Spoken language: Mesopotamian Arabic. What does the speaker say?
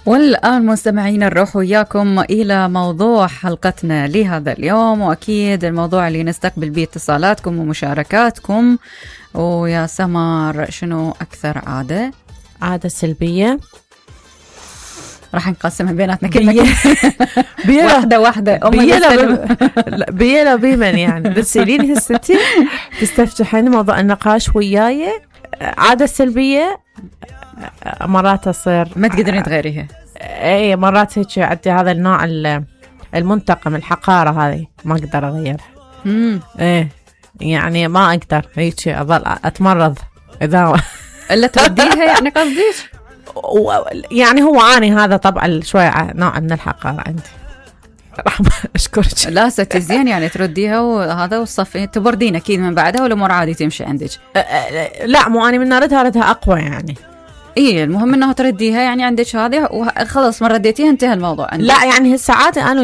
والآن مستمعين نروح وياكم إلى موضوع حلقتنا لهذا اليوم، وأكيد الموضوع اللي نستقبل به اتصالاتكم ومشاركاتكم. ويا سمر، شنو أكثر عادة سلبية راح نقسمها بيناتنا كلمة واحدة بيلا بيمن يعني بتسأليني هستي تستفتحين موضوع النقاش وياي. عادة سلبية مرات تصير ما تقدرين تغيريها. اي مرات هيك عندي هذا النوع المنتقم، الحقارة هذه ما اقدر اغيرها. ايه يعني ما اقدر هيك اظل اتمرض اذا الا ترديها يعني قصديش. يعني هو عاني هذا طبعا شوية نوع من الحقارة عندي. رحمة أشكرك. لا ستزين يعني ترديها وهذا والصفين تبردين أكيد من بعدها، والأمور عادي تمشي عندك. لا مو أنا من ردها أقوى يعني. إيه المهم إنه ترديها يعني عندك هذه وخلص، ما رديتيها انتهى الموضوع عندك. لا يعني هالساعات أنا